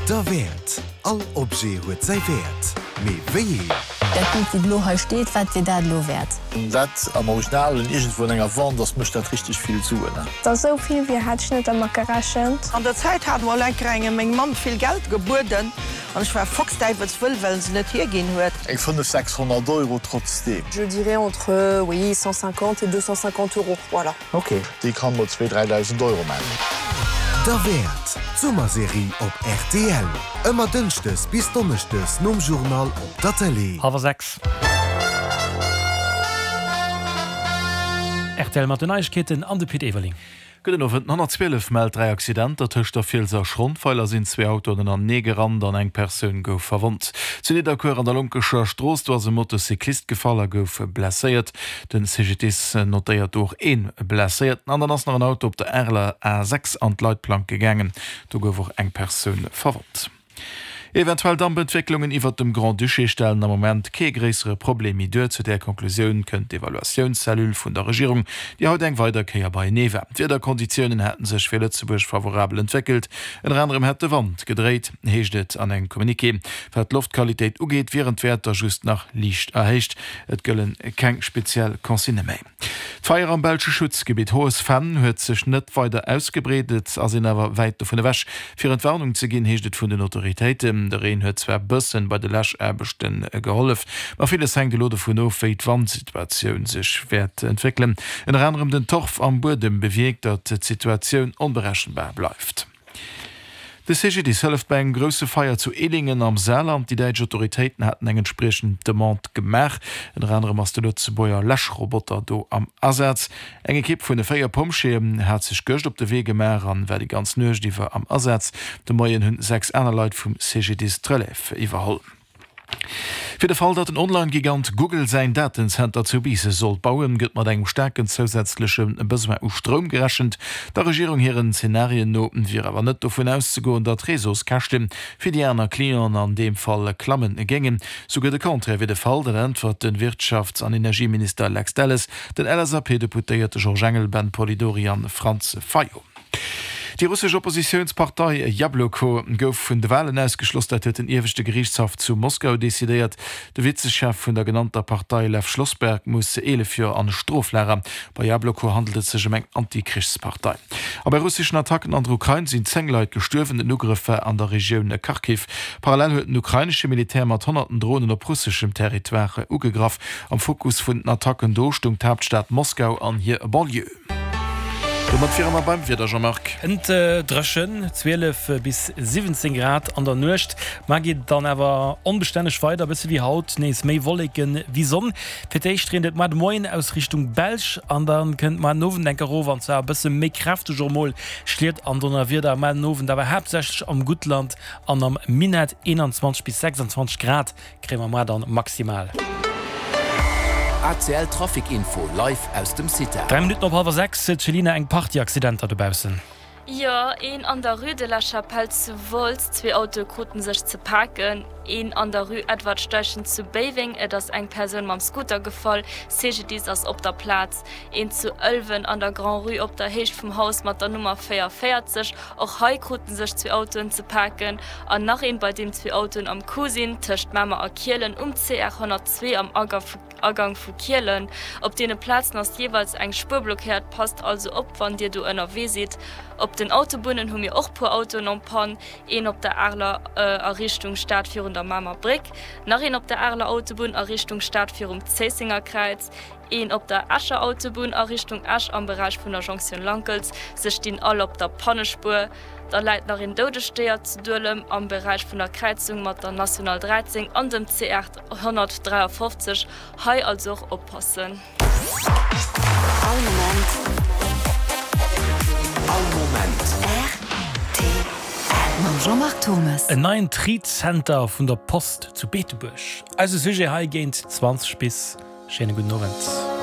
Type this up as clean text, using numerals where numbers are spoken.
Derwäert! All Objet huet säi Wäert, mee wéi een? Dat Bild wou elo hei steet, wat wier dat elo wäert? Dat am Original iergendwou an enger Vente ass, mécht dat richteg vill Suen. Dass esou vill wier hat ech net dermat gerechent. An der Zäit hat mol enker engem meng Mamm vill Geld gebueden an ech war foxdäiwelswëll, well en se net hierginn huet. Eng 5, 600 Euro trotzdeem. Je dirais entre, oui, 150 et 250 euros, voilà. Ok. Déi kann mol zwee, 3.000 Euro man. Derwäert, d'Summerserie op rtl. Ëmmer dënschdes bis donneschdes nom Journal op der Tëlee. Hallwer 6. Rtl mat den Neiegkeeten an de Pit Everling. Gudden Owend. Den 112 mellt 3 Accidenter. Tëscht der Fiels a Schrondweiler sinn zwee Autoen ënnerenee gerannt an eng Persoun gouf verwonnt. Zu Nidderkuer an der Lonkescher Strooss, do ass e Motocyclist gefall a gouf blesséiert. Den CGDIS notéiert do och ee Blesséierten. An dann ass nach en Auto op der Areler A6 an d'Leitplank gegaangen. Do gouf och eng Persoun verwonnt. Eventuell Dampentwécklungen iwwert dem Grand-Duché stellen am Moment kee gréissere Problem méi duer. Zu där Konklusioun kënnt d'Evaluatiounscellule vun der Regierung, déi haut eng weider Kéier beienee war. D'Wiederkonditiounen hätte sech fir Lëtzebuerg favorabel entwéckelt. Ënner anerem hätt de Wand gedréit, heescht et an engem Communiqué. Wat d'Loftqualitéit ugeet, wieren d'Wäerter just nach liicht erhéicht. Et gëlle keng speziell Consignë méi. D'Feier am belsche Schutzgebitt Hohes Venn huet sech net weider ausgebreet. Et ass een awer wäit dovun ewech, fir Entwarnung ze ginn, heescht et vun den Autoritéiten. De Reen huet zwar bëssen bei de Läschaarbechte gehollef, ma villes hänkt elo dovun of, wéi d'Wandsituatioun sech wäert entwéckelen. Ënner anerem den Torf am Buedem bewierkt, datt d'Situatioun onberechenbar bleift. De CGDIS hëlleft bei engem grousse Feier zu Ehlingen am Saarland. Déi däitsch Autoritéiten haten eng entspriechend Demande gemaach. Ënner anerem ass de Lëtzebuerger Läschroboter do am Asaz. Eng Ekipp vun 4 Pompjeeën hat sech gëscht op de Wee gemaach an war déi ganz Nuecht iwwer am Asaz. De Moien hunn 6 aner Leit vum CGDIS d'Relève iwwerholl. Fir de Fall, datt den Online-Gigant Google säin Datenzenter zu Biissen sollt bauen, gëtt mat engem staarken zousätzleche Besoin u Stroum gerechent. Der Regierung hiren Zenarien no wier awer net dovun auszegoen, datt d'Réseauskäschte fir déi aner Clienten an deem Fall klamme géingen. Souguer de Contraire wier de Fall, dat äntwert de Wirtschafts an Energieminister Lex Delles den LSAP-Deputéierte Georges Engel, Ben Polidori an Franz Fayot. Déi russesch Oppositiounspartei Jabloko gouf vun de Walen ausgeschloss. Dat huet den ieweschte Geriichtshaff zu Moskau decidéiert. De Vizechef vun der genannter Partei Lew Schlossberg muss 11 Joer an e Stroflager. Bei Jabloko handelt et sech ëm eng Anti-Krichspartei. A bei russeschen Attacken an der Ukrain sinn 10 Leit gestuerwen. Den Ugrëff war an der Regioun Kharkiv. Parallel huet den ukrainesche Militär mat honnerten Dronen op russeschem Territoire ugegraff. Am Fokus vun den Attacken do stoung d'Haaptstad Moskau an hir Banlieue. Domat wiere mer beim Wieder, Jean-Marc. Ënt dréchen, 12 bis 17 Grad an der Nuecht. Mar geet et dann awer onbestänneg weider, bësse wéi haut, nees méi Wolleken wéi Sonn. Fir d'éischt reent et moar de Moien aus Richtung Belsch an da kënnt moar den Owend enk erof, an zwar e bësse méi kräfteg och mol Schliet an Donnerwieder. Moar den Owend awer haaptsächlech am Guttland an am Minett, 21 bis 26 Grad Kréie mer moar dann maximal. ACL Trafic Info live aus dem CITA. 3 Minutten op hallwer 6, Céline, eng Partie Accidenter dobaussen. Jo, een an der Rue de la Chapelle zu Wolz, zwee Autoe kruten sech ze paken, een an der Rue Edward Steichen zu Béiweng, et ass eng Persoun mam Scooter gefall, CGDIS ass op der Plaz, een zu Ëlwen an der Grand-Rue op der Héicht vum Haus mat der Nummer 44, Och hei kruten sech zwee Autoen ze paken an nach een, bei deem zwee Autoen am Coup sinn, tëscht Mamer a Kielen um CR 102 am Agang vu Kielen. Op deene Plazen ass jeeweils eng Spuer blockéiert, passt also op wann dir do ënnerwee sidd. Op den Autobunnen hu mir och puer Autoen en panne, een op der Areler a Richtung Stad virun der Mamer Bréck, nach een op der Areler Autobunn a Richtung Stad virum Zéissengerkräiz, Een op der Escher Autobunn a Richtung Esch am Beräich vun der Jonktioun Lankels. Se stinn all op der Pannespuer. Da läit nach een doudegt Déier zu Duelem am Beräich vun der Kräizung mat der National 13 an dem CR 153. Hei also och oppassen. All Moment. All Moment. Rtl. Mam Jean-Marc Thurmes. En neien Tri-Zenter vun der Post zu Beetebuerg. Eise Sujet hei géint 20 bis. Schéine gudden Owend.